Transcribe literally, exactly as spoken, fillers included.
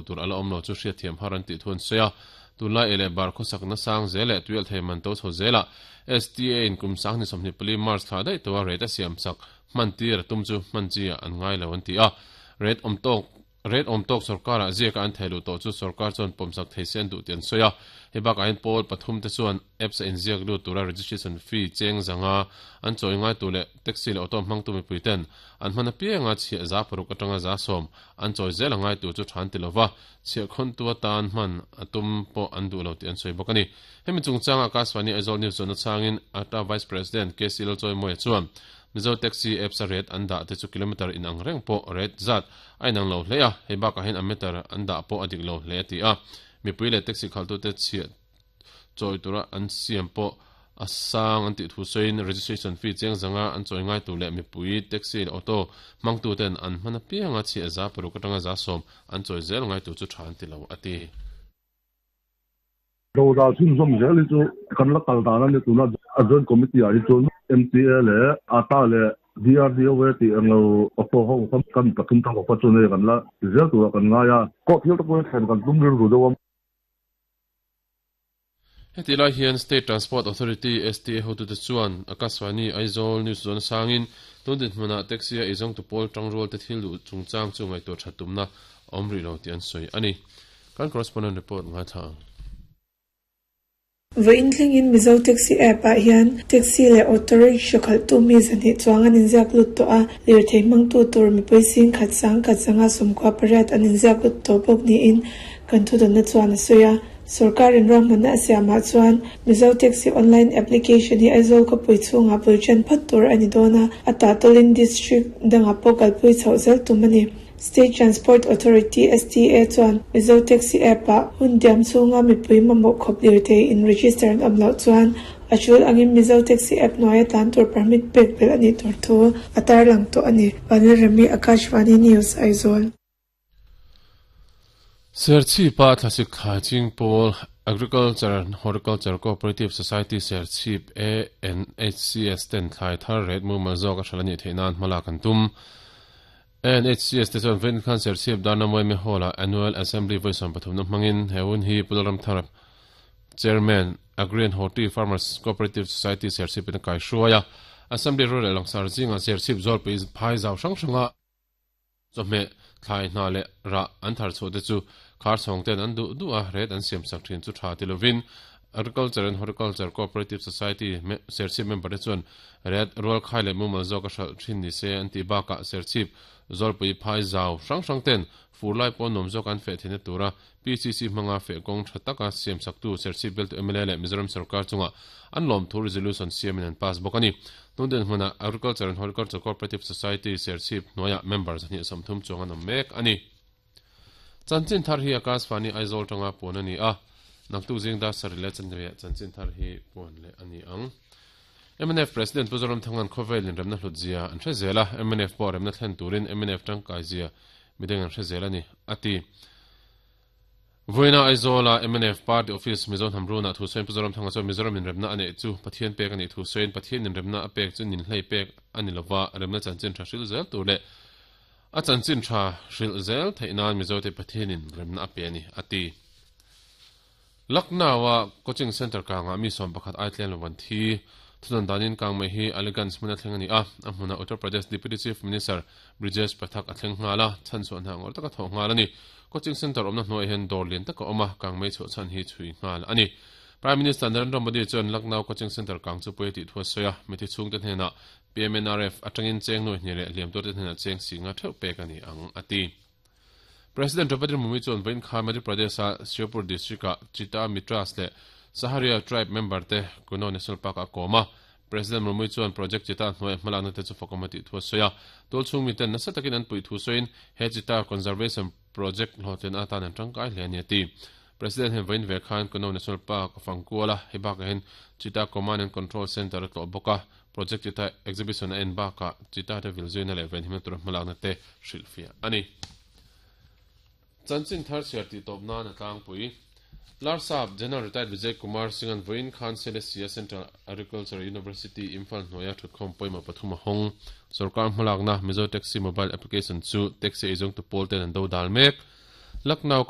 tur ala awm lo chu hriat thiam har an tih thu an sawi a tunlai ele bar khawsak na sang zel leh tuial thei man to chho zela S T A in kum sang ni sawmhnih pali March thla daih tawha rate a siam sak hman tir a tum chu hman chi ah an ngai lo an ti a rate awm tawk rate awm tawk sarkar ah ziaka an thei lu tawh chu sarkar chuan pawmsak thei se an duh tih an sawi a hei bakah hian pawl pathum te chuan apps a inziak lut tura registration fee cheng zanga an chawi ngai tu leh taxi leh auto hmang tu mipui ten an hman apianga chhiah za paruk atanga za sawm an chawi zel a ngai tu chu than ti lova chhiah khawn tu atan hman a tum pawh an duh lo tih an sawi bawk ani hemi chungchanga Akashvani Aizawl News chuan a changin ata Vice President K C Lalchawimawia chuan Mizo taxi apps a rate an dah te chu kilometer in ang reng pawh rate zat a inang lo hle a hei bakah hian a meter an dah pawh a dik lo hle a ti a mipui leh taxi khaltu te chhiah chawi tura an siam pawh a sang an tih thu sawiin registration fee cheng zanga an chawi ngai tu leh mipui taxi leh auto hmangtu ten an hman apianga chhiah za paruk atanga za sawm an chawi zel ngai tu chu tha an ti lo a ti. Do dal chhun zawm zel hi chu kan la kal dan ani tuna a joint committee ah hi chuan M T A leh A T A leh D R D O A tih ang lo auto ho kan kan pathum thang kawpa chu nei kan la zel tura kan ngai a pawh thil te pawh thlen kan tum rilru deuh a. Heti lai hian State Transport Authority S T A hotu te chuan Akashvani Aizawl News zawn sangin tun dinhmunah taxi a eizawng tu pawl tangrual te thil duh chungchang chu ngaihtuah that tumna awm rih lo tih an sawi ani. Kan correspondent report ngai thla ang. Vawiin thlengin Mizo Taxi app ah hian taxi leh auto rickshaw khalhtu mi zahnih chuang an inziak lut tawh a lirthei hmangtu tur mipui sing khat sang khat zanga sawmkua pariat an inziak lut tawh bawk niin kan thudawnna chuan a sawi a sarkarin ruahmanna a siamah chuan Mizo Taxi online application hi Aizawl khawpui chhungah bul ṭan phawt tur a ni dawn a a tahtawlin district dangah pawh kalpui chhoh zel tum a ni. State Transport Authority S T A chuan Mizo Taxi app ah hun diam chhunga mipui mamawh khawp lirthei in register an awm loh chuan a tul angin Mizo Taxi app hnuaia tlan tur permit pek belh ani tur thu a tarlang tawh ani. Vanlalrami Akashvani News Aizawl. Serchhip-a thlasik thlai ching pawl Agriculture and Horticulture Cooperative Society Serchhip A N H C S ten thlai thar rate mumal zawk a hral ani theih nan hmala kan tum. A N H C S te chuan vawiin khan Serchhip Darna Mawime Hall-ah Annual Assembly vawi sawm pathumna hmangin he hun hi Pulram Thar Chairman Agri and Horti Farmers Cooperative Society Serchhip in a kai hruai a Assembly rual leh langsar zinga Serchhip zawlpui phai zau hrang hranga chawhmeh thlai hna leh rah an thar chhuah te chu khar chhawng ten an duh duh a rate an siam sak thin chu tha ti lovin Agriculture and Horticulture Cooperative Society Serchhip member te chuan rate rual khai leh mumal zawk a hralh thin ni se an tih bakah Serchhip zawlpui phai zau hrang hrang ten fur lai pawh nuam zawk an feh theihna tura P C C hmanga feh kawng tha taka siam saktu Serchhip bialtu M L A leh Mizoram sarkar chunga an lawm thu resolution siamin an pass bawk ani. Tun hmunah Agriculture and Horticulture Cooperative Society Serchhip hnuaiah member zahnih sawmthum chuang an awm mek ani. Chanchin thar hi Akashvani Aizawl tanga puan ani a naktu zing da sari leh chanve chanchin thar hi puan leh ani ang. M N F President Pu Zoram Thangan khawvel in remna hlut zia an hre zel a M N F pawh remna thlen turin M N F tangkai zia midang an hre zel ani ati. Vawiina Aizawla M N F Party Office Mizo Hnamruna thu sawiin Pu Zoram Thanga chuan Mizoram in remna a neih chu Pathian pek ani thu sawiin Pathian in remna a pek chu nin hlei pek ani lova remna chanchin tha hril zel tur leh a chanchin tha hril zel theih nan Mizo te Pathian in remna a pe ani ati. Lucknow-a coaching center kangah mi sawm pakhat ai tlen lo an thi thudan danin kang mai hi Aliganj hmun a thleng ani a a hmunah Uttar Pradesh Deputy Chief Minister Brijesh Pathak a thleng nghal a chan chuan hna ngawr taka thawh nghal ani. Coaching center awmna hnuaiah hian dawr lian taka awm a kang mai chhuah chhan hi chhui nghal ani. Prime Minister Narendra Modi chuan Lucknow coaching center kang chu pui tih thu a sawi a mithi chhungte hnenah P M N R F atangin cheng nuai hnih leh hliam tur te hnenah cheng singa theuh pek ani ang ati. President Draupadi Murmu chuan vawiin kha Madhya Pradesh-a Sheopur district-ah Chita Mitras leh Saharia tribe member te Kuno National Park a kawm a. President Murmu chuan Project Chita hnuaiah hmalakna te chu fakawm a tih thu a sawi a. Tual chhung miten nasa takin an puih thu sawiin he Chita Conservation Project hlawhtlin atan an tangkai hle ani a ti. President hian vawiin ve khan Kuno National Park a fangkual a, hei bakah hian Chita Command and Control Center a tlawh bawk a. Project Chita exhibition a en bakah Chita te vil zuina leh venhimna tura hmalakna te hrilhfiah ani. Chanchin thar chhiar tih tawp nan a tlangpui. Larsap General Retired Vijay Kumar Singh an vawiin khan Silesia Central Agriculture University Imphal hnuaia thutkhawm pawimawh pathum a hawng. Sarkar hmalakna Mizo Taxi mobile application chu taxi eizawng tu pawl ten an do dal mek. Lucknow